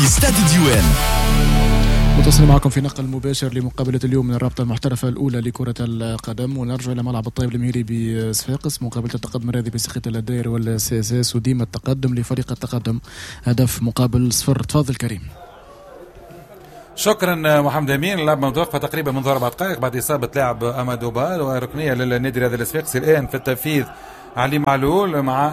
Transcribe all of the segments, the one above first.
ستاد الديوان. متواصل معكم في نقل مباشر لمقابلة اليوم من الرابطة المحترفة الأولى لكرة القدم، ونرجع إلى ملعب الطيب المهيري بصفاقس، مقابلة التقدم الرياضي بساقية الداير وال CSS، وديما التقدم لفريق التقدم هدف مقابل صفر. تفضل كريم. شكرا محمد امين. اللعبة متوقفه تقريبا منذ 4 دقائق بعد اصابه لاعب امادو بال، وركنيه للنادي الرياضي الصفاقسي الان في التنفيذ علي معلول، مع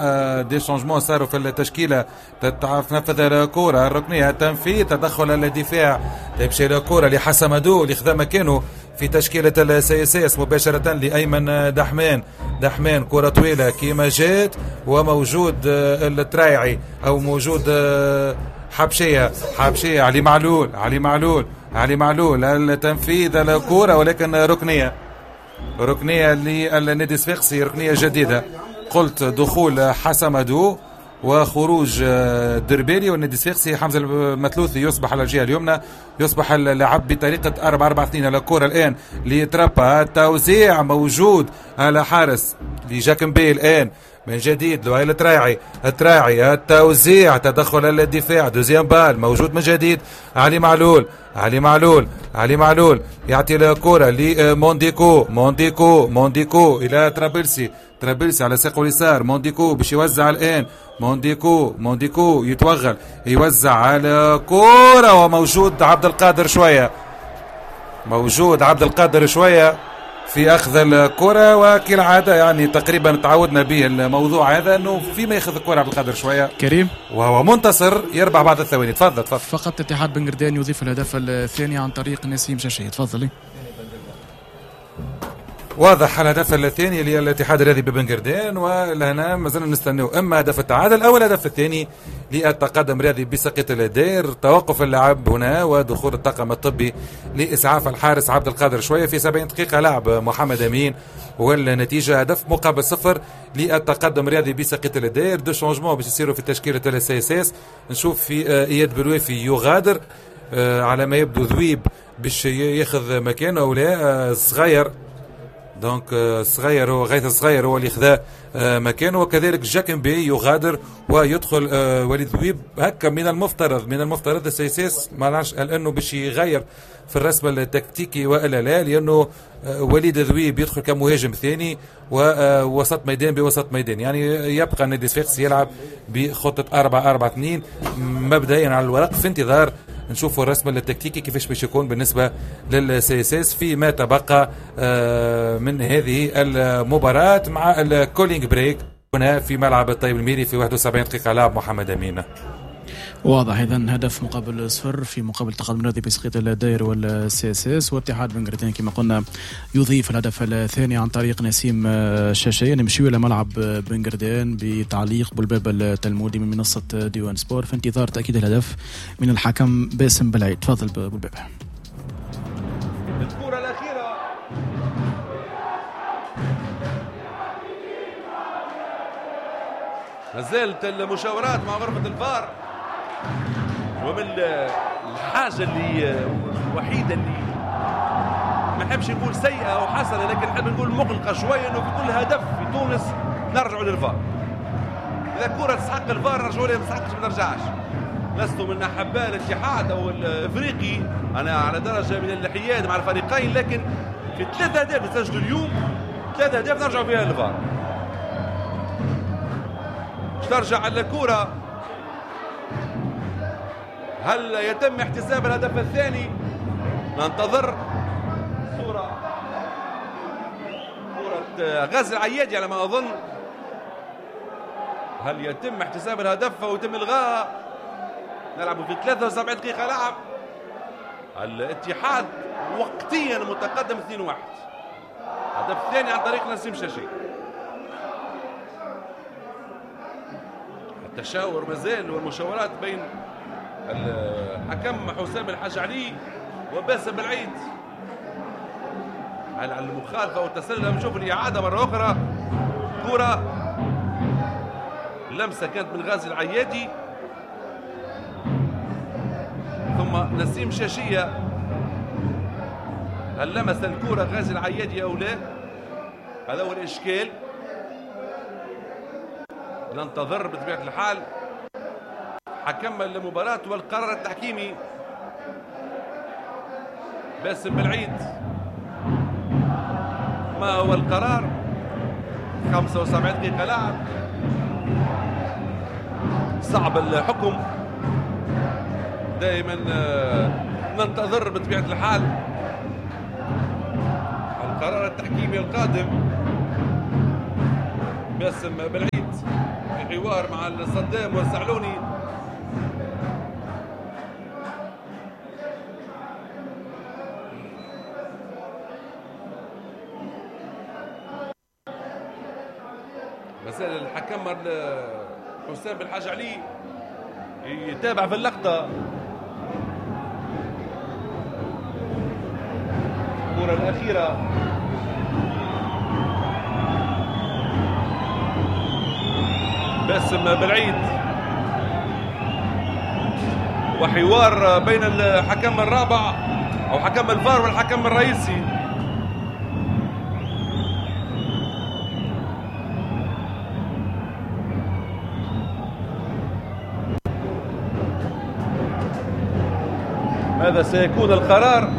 des changements صاروا في التشكيله. تنفذ الكره الركنيه، التنفيذ، تدخل الدفاع، تمشي الكره لحسمدو اللي خذا مكانه في تشكيله ال CSS مباشرة لايمن دحمان. دحمان كره طويلة كيما جات، وموجود الترايعي او موجود حبشيه، حبشيه، علي معلول، علي معلول، علي معلول، التنفيذ، الكره ولكن ركنيه، ركنيه للنادي الصفاقسي، ركنيه جديده. قلت دخول حسمدو وخروج دربالي، والنادي الصفاقسي حمزة المثلوثي يصبح على الجهة اليمنى، يصبح اللعب بطريقة 4-4-2. الكره الان لترابا، التوزيع موجود على حارس لجاكمبي، الان من جديد لؤي التراعي، التراعي، التوزيع، تدخل الدفاع، deuxième balle موجود من جديد علي معلول، علي معلول، علي معلول يعطي الكرة لمونديكو، مونديكو، مونديكو إلى ترابلسي، ترابلسي على ساقه اليسار، مونديكو باش يوزع الآن، مونديكو، مونديكو يتوغل، يوزع على كرة وموجود عبد القادر شوية، موجود عبد القادر شوية في اخذ الكره، وكالعادة يعني تقريبا تعودنا به الموضوع هذا، انه فيما ياخذ الكره عبد القادر شوية كريم وهو منتصر يربح بعض الثواني. تفضل تفضل. فقط اتحاد بنقردان يضيف الهدف الثاني عن طريق نسيم شاشية. تفضلي. واضح الهدف الثاني للاتحاد الرياضي ببنقردان، ولهنا مازلنا نستناو اما هدف التعادل او الهدف الثاني للتقدم الرياضي بساقية الداير. توقف اللعب هنا ودخول الطاقم الطبي لاسعاف الحارس عبد القادر شوية في 70 دقيقة لعب محمد امين، والنتيجة هدف مقابل صفر للتقدم الرياضي بساقية الداير. deux changements باش يصيروا في تشكيله ال CSS. نشوف في اياد بلويفي يغادر، على ما يبدو ذويب باش ياخذ مكانه او لا، صغير، donc صغير، هو غيث الصغير هو اللي خذا مكانه، وكذلك جاكمبي يغادر ويدخل وليد ذويب. هكا من المفترض ال CSS ما نعرفش انه باش يغير في الرسم التكتيكي والا لا، لانه وليد ذويب يدخل كمهاجم ثاني ووسط ميدان بوسط ميدان، يعني يبقى النادي الصفاقسي يلعب بخطه 4-4-2 مبدئيا على الورق، في انتظار نشوفوا الرسم التكتيكي كيفاش باش يكون بالنسبة لل CSS فيما تبقى من هذه المباراة مع ال cooling break هنا في ملعب الطيب المهيري في 71 دقيقة لعب محمد امين. واضح اذا هدف مقابل صفر في مقابل تقدم الرياضي بساقية الداير وال CSS، واتحاد بنقردان كما قلنا يضيف الهدف الثاني عن طريق نسيم شاشية. نمشيو الى ملعب بنقردان بتعليق بولبابة التلمودي من منصة ديوان سبور في انتظار تاكيد الهدف من الحكم باسم بلعيد. تفضل بولبابة. الكرة الأخيرة ما زالت المشاورات مع غرفة الفار، ومن الحاجة اللي الوحيدة اللي ما نحبش نقول سيئة أو حسنة، لكن نحب نقول مقلقة شوية، أنه في كل هدف في تونس نرجعوا للفار. إذا كرة تستحق الفار نرجعوا لها، ما تستحقش ما نرجعش. لست من أحباء الاتحاد أو الإفريقي، أنا على درجة من الحياد مع الفريقين، لكن في 3 أهداف تسجلوا اليوم، 3 أهداف نرجعوا فيها للفار. ترجع الكرة، هل يتم احتساب الهدف الثاني؟ ننتظر صورة، كرة غازي العيادي على ما أظن. هل يتم احتساب الهدف أو يتم إلغاء؟ نلعب في 73 دقيقة لعب، الاتحاد وقتيا متقدم 2-1، هدف الثاني عن طريق نسيم شاشي. التشاور مازال والمشاورات بين الحكم حسام الحاج علي وباسم بالعيد على المخالفة والتسلل. نشوف الإعادة مرة أخرى، كرة لمسة كانت من غازي العيادي ثم نسيم شاشية. هل لمس الكرة غازي العيادي أو لا؟ هذا هو الإشكال. ننتظر بطبيعة الحال حكم المباراة والقرار التحكيمي باسم بالعيد. ما هو القرار؟ 75 دقيقة لعب، صعب الحكم دائما، ننتظر بطبيعة الحال القرار التحكيمي القادم. باسم بالعيد في حوار مع الصدام والزعلوني. مسألة الحكم حسام بالحاج علي يتابع في اللقطة. الكرة الأخيرة باسم بالعيد، وحوار بين الحكم الرابع أو حكم الفار والحكم الرئيسي. ماذا سيكون القرار؟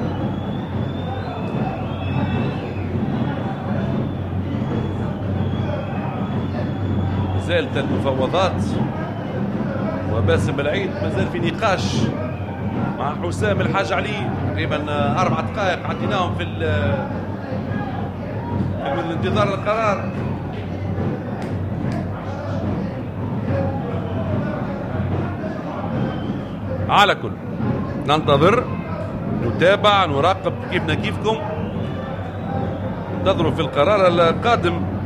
زالت المفاوضات وباسم بالعيد مازال في نقاش مع حسام الحاج علي. تقريبا 4 دقائق عديناهم في الانتظار القرار. على كل ننتظر، نتابع، نراقب كيفنا كيفكم. انتظروا في القرار القادم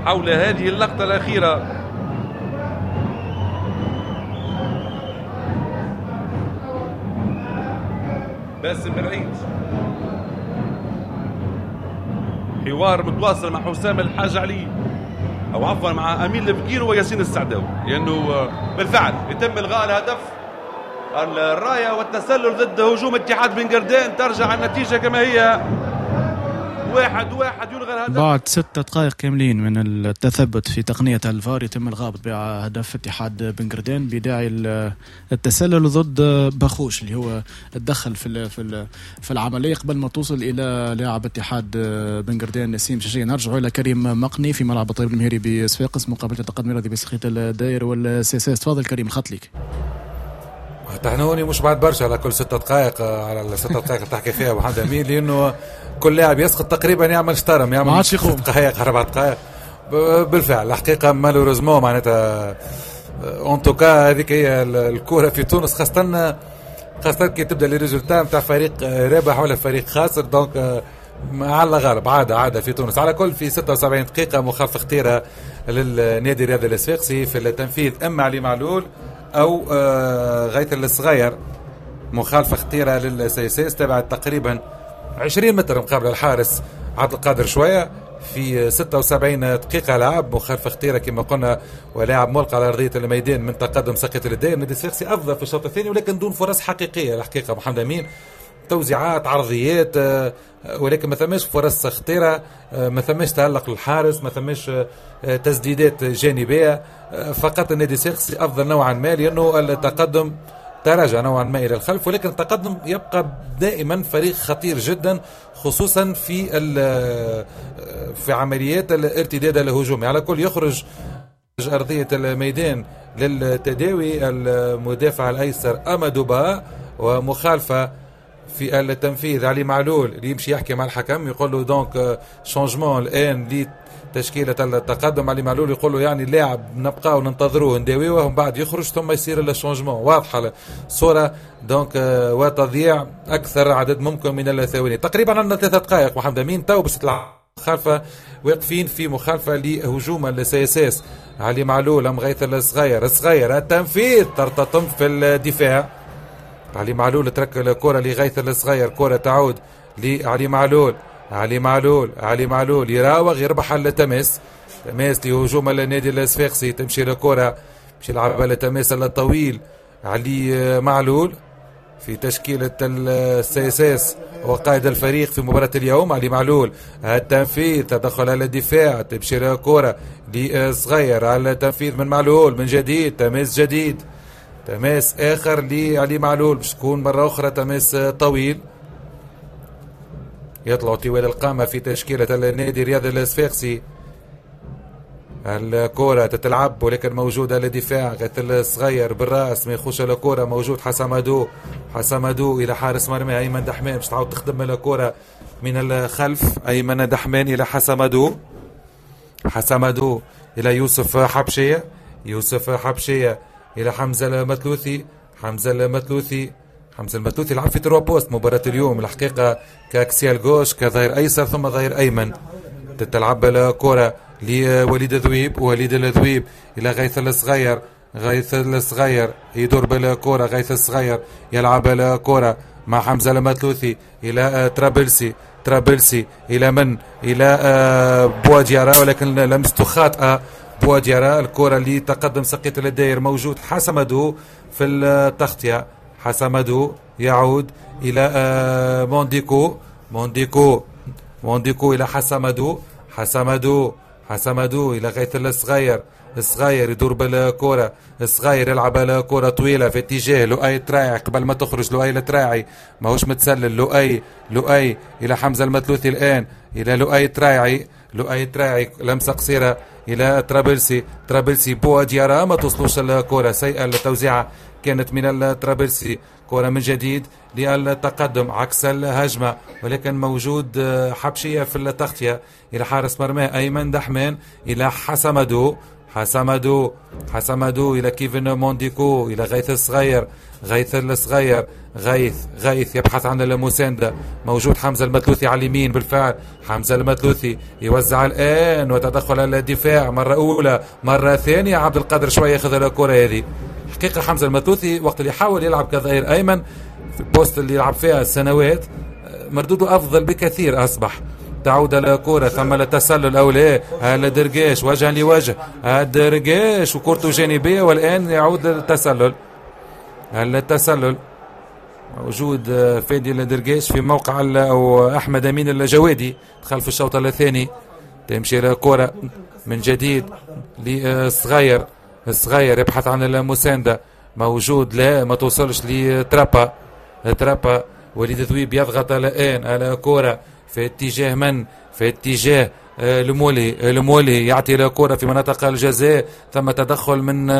حول هذه اللقطة الأخيرة. باسم بالعيد حوار متواصل مع حسام الحاج علي، أو عفوا مع أمين الفقير وياسين السعداوي، لأنه بالفعل يتم إلغاء الهدف. الراية والتسلل ضد هجوم اتحاد بن قردان، ترجع النتيجة كما هي 1-1، يلغى الهدف بعد 6 دقائق كاملين من التثبت في تقنية الفار. يتم الغاء بهدف اتحاد بن قردان بداعي التسلل ضد بخوش اللي هو تدخل في العملية قبل ما توصل إلى لاعب اتحاد بن قردان نسيم شاشية. نرجع إلى كريم مقني في ملعب الطيب المهيري بصفاقس، مقابلة التقدم الرياضي بسخيت الداير وال CSS. تفضل كريم، الخط ليك. تحنوني مش بعد برشا على كل 6 دقائق، على ال6 دقائق اللي تحكي فيها محمد امين، لانه كل لاعب يسقط تقريبا يعمل شطرم، يعمل 6 دقائق 4 دقائق. بالفعل الحقيقة malheureusement معناتها en tout cas هذيك هي الكره في تونس، خاصة كي تبدا les résultats نتاع فريق رابح ولا فريق خاسر، donc على غالب عادة في تونس. على كل في 76 دقيقة مخالفة خطيرة للنادي الرياضي الصفاقسي في التنفيذ، اما علي معلول او غيث الصغير. مخالفة خطيرة لل CSS تبعت تقريبا 20 متر مقابل الحارس عبد القادر شوية في 76 دقيقة لعب. مخالفة خطيرة كما قلنا، ولاعب ملقى على ارضية الميدان من تقدم ساقية الداير. النادي الصفاقسي افضل في الشوط الثاني، ولكن دون فرص حقيقية الحقيقة محمد امين، توزيعات عرضيات، ولكن ما ثماش فرص خطيرة، ما ثماش تألق للحارس، ما ثماش تسديدات جانبية. فقط النادي الصفاقسي أفضل نوعا ما، لأنه التقدم تراجع نوعا ما إلى الخلف، ولكن التقدم يبقى دائما فريق خطير جدا، خصوصا في عمليات الارتداد الهجومي. على كل يخرج أرضية الميدان للتداوي المدافع الأيسر أمادوبا، ومخالفة في التنفيذ علي معلول اللي يمشي يحكي مع الحكم يقول له donc changement الان لتشكيله التقدم. علي معلول يقول له يعني اللاعب نبقاو ننتظروه نداويوه ومن بعد يخرج ثم يصير ال changement. واضحة الصورة donc، وتضييع اكثر عدد ممكن من الثواني. تقريبا عندنا 3 دقائق محمد امين تو باش تطلع مخالفة، واقفين في مخالفة لهجوم ال CSS. علي معلول ام غيث الصغير، الصغير التنفيذ ترتطم في الدفاع. علي معلول ترك الكرة لغيث الصغير، كرة تعود لعلي معلول، علي معلول، علي معلول يراوغ يربح التماس، تماس لهجوم النادي الصفاقسي، تمشي الكرة باش يلعبها التماس الطويل علي معلول في تشكيلة ال CSS وقائد الفريق في مباراة اليوم. علي معلول التنفيذ، تدخل على الدفاع، تمشي كرة لصغير على التنفيذ من معلول من جديد، تماس جديد، تماس آخر لعلي معلول باش تكون مرة أخرى تماس طويل. يطلع طوال القامة في تشكيلة النادي الرياضي الصفاقسي. الكرة تتلعب ولكن موجودة للدفاع، غيث الصغير بالراس ما يخش الكرة، موجود حسامادو، حسامادو إلى حارس مرمى أيمن دحمان باش تعاود تخدم الكرة من الخلف. أيمن دحمان إلى حسامادو، حسامادو إلى يوسف حبشية، يوسف حبشية إلى حمزة المثلوثي، حمزة المثلوثي، حمزة المثلوثي لعب في trois postes مباراة اليوم الحقيقة، ك axial gauche، كظهير أيسر ثم ظهير أيمن. تتلعب الكرة لوليد ذويب، وليد الذويب إلى غيث الصغير، غيث الصغير يدور بالكرة، غيث الصغير يلعب الكرة مع حمزة المثلوثي إلى ترابلسي، ترابلسي إلى من؟ إلى بواديارا، ولكن لمسته خاطئة بواديارا. الكرة اللي تقدم سقيط للداير، موجود حسمدو في التغطية، حسمدو يعود إلى مونديكو، مونديكو، مونديكو إلى حسمدو، حسمدو، حسمدو إلى غيث الصغير، الصغير يدور بالكرة، الصغير يلعب الكرة طويلة في اتجاه لؤي تراعي قبل ما تخرج لؤي التراعي ماهوش متسلل، لؤي، لؤي إلى حمزة المثلوثي الآن، إلى لؤي تراعي، لؤي تراعي لمسة قصيرة إلى ترابلسي، ترابلسي بواديارا ما توصلوش الكرة، سيئة التوزيعة كانت من الترابلسي. كرة من جديد للتقدم عكس الهجمة، ولكن موجود حبشية في التغطية إلى حارس مرمى أيمن دحمان إلى حسمدو، حسمدو، حسمدو إلى كيفن مونديكو إلى غيث الصغير، غيث الصغير، غيث، غيث يبحث عن المساندة، موجود حمزة المثلوثي على اليمين بالفعل، حمزة المثلوثي يوزع الآن وتدخل الدفاع مرة أولى مرة ثانية، عبد القادر شوية ياخذ الكرة هذه. حقيقة حمزة المثلوثي وقت اللي حاول يلعب كظهير أيمن في ال poste اللي يلعب فيها سنوات مردودة أفضل بكثير أصبح. تعود الكرة ثم التسلل أو لا، الدرقاش وجها لوجه، الدرقاش وكرته جانبية والآن يعود للتسلل، التسلل موجود فادي الدرقاش في موقع أو أحمد أمين الجوادي دخل في الشوط الثاني. تمشي الكرة من جديد للصغير، الصغير يبحث عن المساندة، موجود لا ما توصلش لترابا، ترابا وليد ذويب يضغط الآن على كرة في اتجاه من؟ في اتجاه المولي، المولي يعطي الكرة في مناطق الجزاء، ثم تدخل من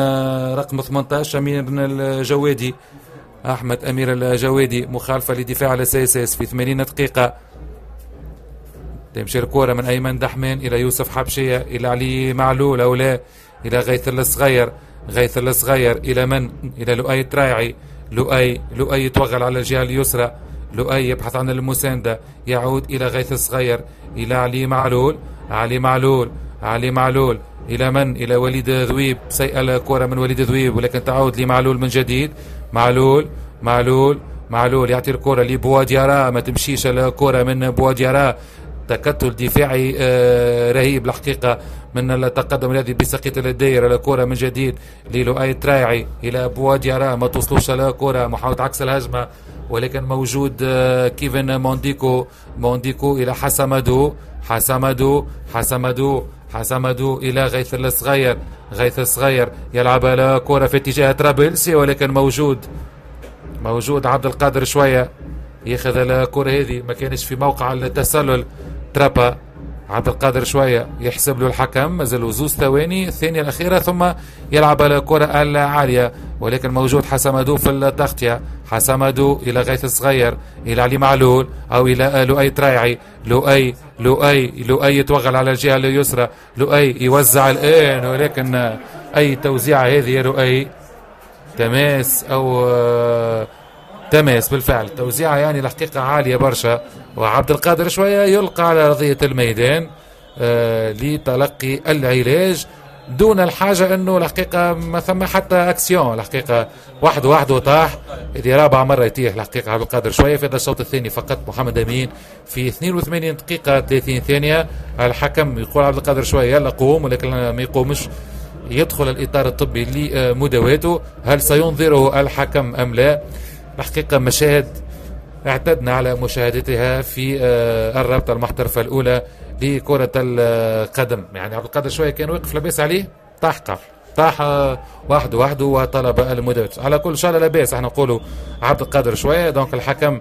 رقم 18 أمير الجوادي، أحمد أمير الجوادي، مخالفة لدفاع ال CSS في 80 دقيقة. تمشي الكرة من أيمن دحمان إلى يوسف حبشية إلى علي معلول أو لا إلى غيث الصغير، غيث الصغير إلى من؟ إلى لؤي تراعي، لؤي، لؤي يتوغل على الجهة اليسرى، لؤي يبحث عن المساندة، يعود إلى غيث الصغير إلى علي معلول، علي معلول، علي معلول إلى من؟ إلى وليد ذويب، سيئة الكرة من وليد ذويب ولكن تعود لمعلول من جديد، معلول، معلول، معلول يعطي الكرة لبواديارا، ما تمشيش الكرة من بواديارا، تكتل دفاعي رهيب الحقيقة من التقدم الذي بسقيط الدائرة. الكرة من جديد للؤي تراعي إلى بواديارا، ما توصلوش الكرة، محاولة عكس الهجمة ولكن موجود كيفن مونديكو، مونديكو إلى حسمدو، حسمدو، حسمدو، حسمدو إلى غيث الصغير، غيث الصغير يلعب الكرة في اتجاه ترابلسي ولكن موجود، موجود عبد القادر شوية ياخذ الكرة هذه، ما كانش في موقع التسلل. ترابا عبد القادر شوية يحسب له الحكم، مازالوا زوز ثواني الثانية الأخيرة ثم يلعب الكرة العالية ولكن موجود حسمدو في التغطية، حسمدو إلى غيث الصغير إلى علي معلول أو إلى لؤي تراعي، لؤي، لؤي، لؤي يتوغل على الجهة اليسرى، لؤي يوزع الآن ولكن أي توزيعة هذه يا لؤي، تماس أو تماس بالفعل، توزيعة يعني الحقيقة عالية برشا، وعبد القادر شوية يلقى على أرضية الميدان لتلقي العلاج دون الحاجة أنه الحقيقة ما ثم حتى أكسيون، الحقيقة واحد واحد وطاح، هذه رابع مرة يتيح الحقيقة عبد القادر شوية في هذا الشوط الثاني فقط. محمد أمين في 82 دقيقة 30 ثانية، الحكم يقول عبد القادر شوية يلا قوم، ولكن ما يقومش، يدخل الإطار الطبي لمداواته، هل سينظره الحكم أم لا؟ الحقيقة مشاهد اعتدنا على مشاهدتها في الرابطة المحترفة الأولى لكرة القدم. يعني عبد القادر شوية كان وقف لاباس عليه، طاح قف، طاح وحده وحده وطلب المداواة. على كل شاء الله لاباس، احنا نقولوا عبد القادر شوية. donc الحكم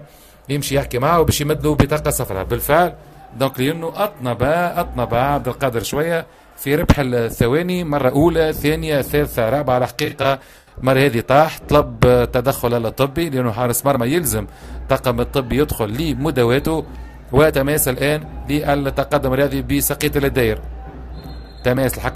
يمشي يحكي معه باش يمد له بطاقة صفراء بالفعل. donc لأنه أطنب عبد القادر شوية في ربح الثواني، مرة أولى، ثانية، ثالثة، رابعة. على الحقيقة المرة هذه طاح، طلب تدخل الطبي لأنه حارس مرمى يلزم الطاقم الطبي يدخل لمداواته. وتماس الآن للتقدم الرياضي بسقية الداير، تماس الحكم.